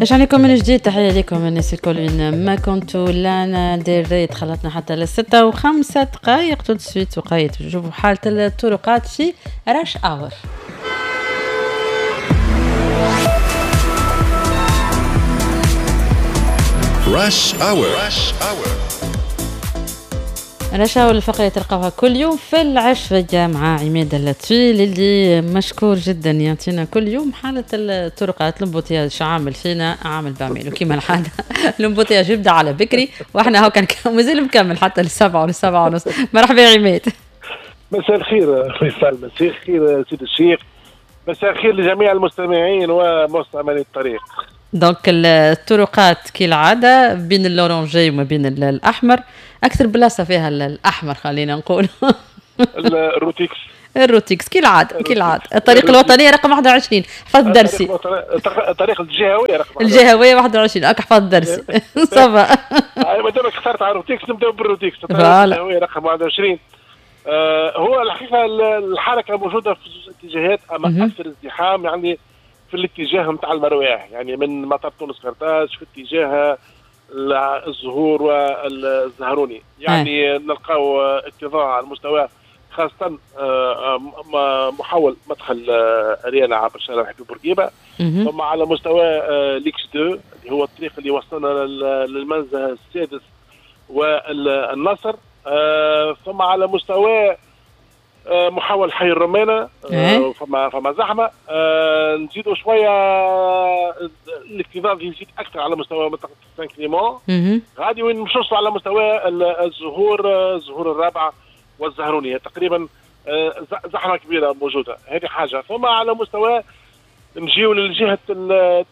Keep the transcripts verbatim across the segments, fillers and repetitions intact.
رجعنا لكم من جديد، تحية لكم الناس الكل وين ما كنتوا. لانا ديري تخلطنا حتى للستة وخمسة دقائق tout de suite وقايت نشوفوا حالة الطرقات في rush hour. rush hour. rush hour الفقرة تلقاوها كل يوم في العشوية مع عماد اللطفي اللي مشكور جدا يعطينا كل يوم حالة الطرقات. l'embouteillage عامل فينا عامل بعمله كيما العادة. l'embouteillage يبدا على بكري واحنا هو كان مازال مكمل حتى للسبعة وللسبعة ونص. مرحبا يا عماد. مساء الخير فيصل، مساء الخير سيد الشيخ، مساء الخير لجميع المستمعين ومستعملي الطريق. donc الطرقات كالعادة بين ال orangé وما بين الاحمر، اكثر بلاصة فيها الاحمر خلينا نقول الروتيكس. الروتيكس كالعادة كالعادة الطريق الوطنية رقم واحد وعشرين، حفظت درسي. الطريق الجهوية رقم الجهوية واحد وعشرين، هاك حفظت درسي. ça va. ما دامك اخترت على الروتيكس نبداو بالروتيكس. الطريق الجهوية رقم واحد وعشرين. آه هو الحقيقة الحركة موجودة في زوج اتجاهات، اما اكثر ازدحام يعني في الاتجاه نتاع المرواح، يعني من مطار تونس قرطاج في اتجاه الزهور والزهروني، يعني نلقاو اكتظاظ على المستوى خاصة محول مدخل أريانا عبر شارع حبيب بورقيبة، ثم على مستوى l'X اثنين اللي هو الطريق اللي وصلنا للمنزه السادس والنصر، ثم على مستوى محاول حي الرمانة فما فما زحمة. نزيدوا شوية الاكتظاظ يزيد أكثر على مستوى منطقة سان كليمون غادي وين نوصلوا على مستوى الزهور، الزهور الرابعة والزهرونية تقريبا زحمة كبيرة موجودة، هذه حاجة. ثم على مستوى نجيو للجهة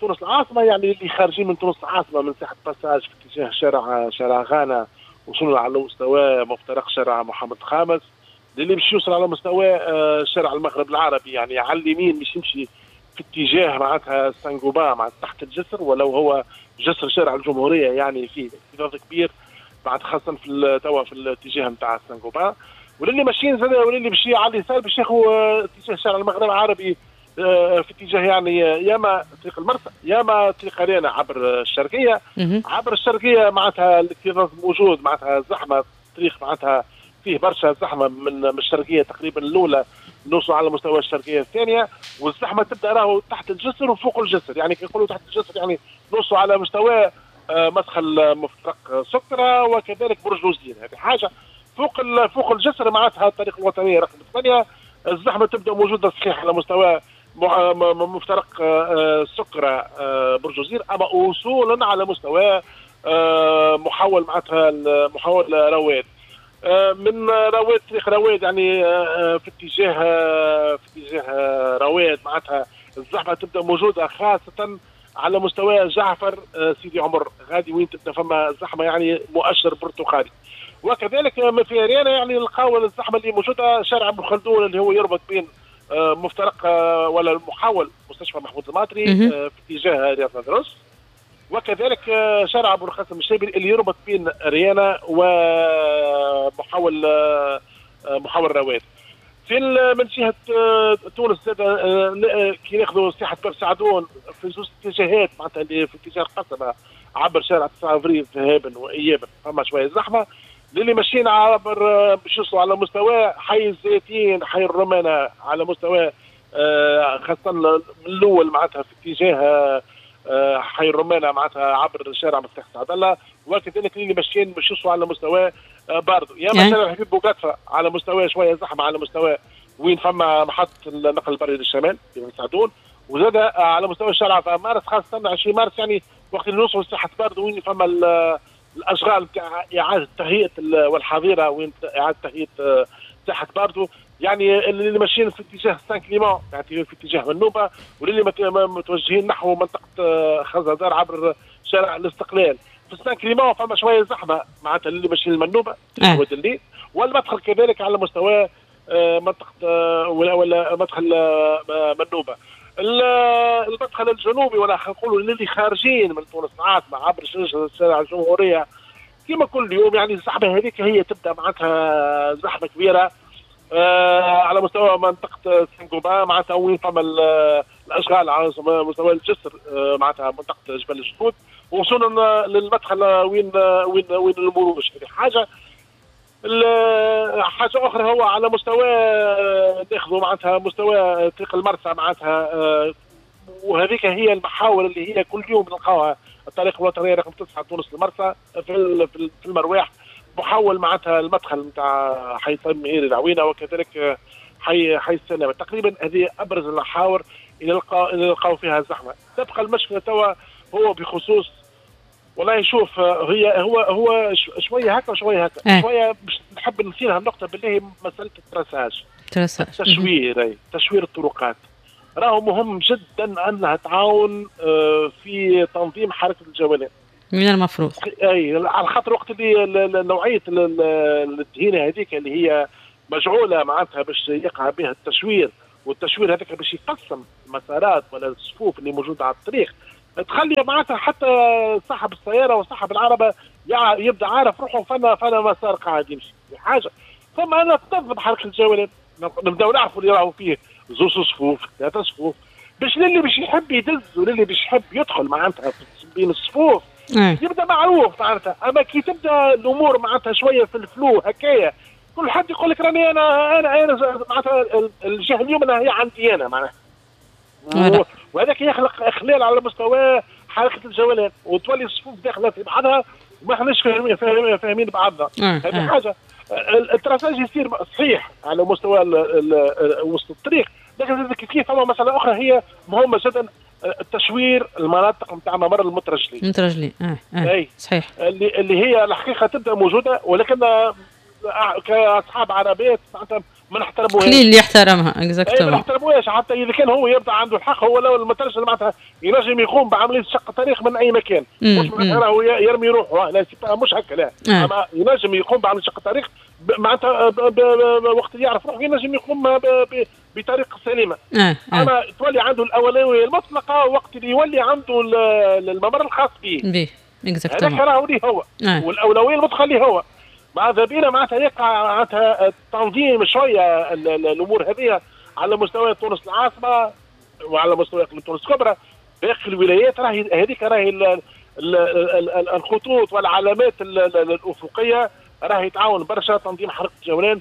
تونس العاصمة، يعني اللي خارجين من تونس العاصمة من ساحة باساج في اتجاه شارع شارع غانا، وصلنا على مستوى مفترق شارع محمد الخامس، اللي باش يوصل على مستوى شارع المغرب العربي، يعني على اليمين باش يمشي في اتجاه معناتها سانغوبا مع تحت الجسر، ولو هو جسر شارع الجمهورية يعني فيه اكتظاظ كبير بعد خاصة في توا في الاتجاه نتاع سانغوبا. واللي ماشيين زاد واللي باش على اليسار باش ياخذ اتجاه شارع المغرب العربي في اتجاه يعني ياما طريق المرسى ياما طريق اريانا عبر الشرقية. عبر الشرقية معناتها الاكتظاظ موجود، معناتها زحمة الطريق معناتها فيه برشا زحمة من الشرقية تقريبا الاولى نوصل على مستوى الشرقية الثانية، والزحمه تبدا راهو تحت الجسر وفوق الجسر، يعني كي نقولوا تحت الجسر يعني نوصل على مستوى مدخل مفترق سكره وكذلك برج الوزير، هذه حاجة. فوق فوق الجسر معناتها الطريق الوطنية رقم ثمانية الزحمة تبدا موجودة صحيح على مستوى مفترق سكره برج الوزير، اما وصولا على مستوى محول معناتها محول رواد، من رواد طريق رواد يعني في اتجاه في اتجاه رواد معناتها الزحمة تبدا موجودة خاصة على مستوى جعفر سيدي عمر غادي وين تبدا فما زحمة يعني مؤشر برتقالي. وكذلك من في اريانا يعني نلقاو الزحمة اللي موجودة شارع ابن خلدون اللي هو يربط بين مفترق ولا المحول مستشفى محمود الماطري في اتجاه رياض ندرس، وكذلك شارع ابو القاسم الشابي اللي يربط بين ريانا ومحول محول رواد. في من جهة تونس زاد كي ناخذوا ساحة باب سعدون في زوج اتجاهات معناتها اللي في اتجاه القصبة عبر شارع تسعة افريل ذهابا وايابا فما شوية زحمة. للي ماشيين عبر باش يوصلوا على مستوى حي الزيتين حي الرمانه على مستوى خاصة من الاول معناتها في اتجاه حي الرمانه معناتها عبر شارع مفتاح سعد الله، وكذلك اللي ماشيين باش يوصلوا على مستوى باردو يا مثلا حبيب بوقطفه على مستوى شوية زحمة على مستوى وين فما محطة النقل البري للشمال في سعدون، وزاد على مستوى الشارع في مارس خاصة عشرين مارس يعني وقت اللي نوصلوا لساحه باردو وين فما الاشغال تاع اعاده تهيئة والحظيره وين اعاده تهيئة ساحة باردو، يعني اللي ماشيين في اتجاه سان كليمون يعني في اتجاه منوبه، واللي متوجهين نحو منطقة خزندار عبر شارع الاستقلال. في سان كليمون فما شوية زحمة معناتها اللي ماشيين لمنوبه واد الليل، والمدخل كذلك على مستوى منطقة ولا مدخل منوبه. المدخل الجنوبي ولا نقولوا اللي خارجين من تونس العاصمة عبر شارع الجمهورية كما كل يوم يعني الزحمة هذيك هي تبدا معناتها زحمة كبيرة آه على مستوى منطقة سانغوبا معناتها وين فما الاشغال على مستوى الجسر معناتها منطقة جبل الجدود، وصولا للمدخل وين وين وين المروج. هذه حاجة. حاجة اخرى هو على مستوى ناخذوا معناتها مستوى طريق المرسى معناتها، وهذيك هي المحاور اللي هي كل يوم نلقاوها، الطريق الوطنية رقم تسعة تونس المرسى في في المرواح، محول معناتها المدخل نتاع حي طيب مهيري العوينة، وكذلك حي حي السلامة. تقريبا هذه ابرز المحاور اللي نلقاو اللي نلقاو فيها الزحمة. تبقى المشكلة توا هو بخصوص والله شوف هي هو هو شوية هكا وشوية هكا، شوية باش نحب نثيرها النقطة بالله، مسالة ال traçage، التشوير، تشوير الطرقات راهو مهم جدا انها تعاون في تنظيم حركة الجولان من المفروض. اي على خاطر وقت اللي نوعية الدهينه هذيك اللي هي مجعوله معناتها باش يقع بها التشوير، والتشوير هذاك باش يقسم المسارات ولا الصفوف اللي موجودة على الطريق، تخلي معناتها حتى صاحب السيارة وصاحب العربة يبدا عارف روحه فما فما مسار قاعد يمشي حاجة. ثم انا تنظم حركة الجولان، نبداو نعرفوا اللي راهو فيه زوج صفوف ثلاثة صفوف، باش للي باش يحب يدز وللي باش يحب يدخل معناتها بين الصفوف يبدا معروف معناتها. اما كي تبدا الامور معناتها شوية في ال flou هكايا، كل حد يقول لك راني انا انا انا معناتها الجهة اليوم هي عندي انا معناتها، وهذاك يخلق اخلال على مستوى حركة الجولان، وتولي الصفوف داخله في بعضها وما احناش فاهمين فاهمين بعضنا. هذه حاجة. ال traçage يصير صحيح على مستوى وسط الطريق، لكن كيف فما مسالة اخرى هي مهمة جدا، التشوير المناطق نتاع ممر المترجلين. المترجلين اه اه اي صحيح، اللي اللي هي الحقيقة تبدا موجودة، ولكن كاصحاب عربيات معناتها ما نحترموهاش. قليل اللي يحترمها exactement، ما نحترموهاش حتى اذا كان هو يبدا عنده الحق، هو لو المترجل معناتها ينجم يقوم بعملية شق طريق من اي مكان، مش معناتها راهو يرمي روحه، لا مش هكا، لا آه. اما ينجم يقوم بعملية شق طريق معناتها وقت اللي يعرف روحه ينجم يقوم بطريقة سليمة. آه. آه. اما تولي عنده الاولوية المطلقة وقت اللي يولي عنده الممر الخاص به. به exactement، هذاك راهو ليه هو. آه. والاولويه المطلقة ليه هو. ماذا بينا معناتها يقع معناتها تنظيم شوية الامور هذه على مستوى تونس العاصمة وعلى مستوى اقليم تونس الكبرى، باقي الولايات راهي هذيك راهي الخطوط والعلامات الافقية راهي تعاون برشا تنظيم حركة الجولان،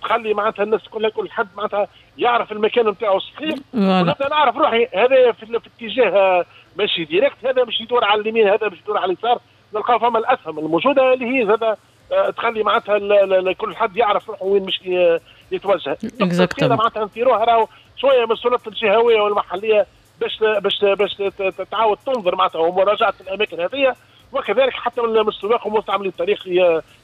تخلي معناتها الناس كلها كل حد معناتها يعرف المكان نتاعو الصحيح، ونبدا نعرف روحي هذا في اتجاه ماشي direct، هذا مش يدور على اليمين، هذا مش يدور على اليسار، نلقاو فما الاسهم الموجودة اللي هي زاد تخلي معناتها كل حد يعرف روحه وين مش يتوجه. exactement معناتها نثيروها راهو شوية من السلطات الجهوية والمحليه باش باش باش تعاود تنظر معناتها ومراجعة الاماكن هذه، وكذلك حتى من السواق ومستعملي الطريق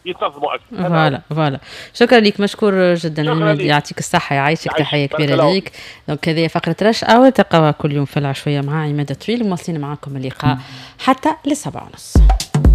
يتنظموا اكثر. voilà voilà، شكرا لك، مشكور جدا، يعطيك الصحة، يعيشك، تحية كبيرة ليك. donc هذه فقره rush hour تلقاوها كل يوم في العشويه مع عماد طويل، مواصلين معكم اللقاء حتى للسبعة ونص.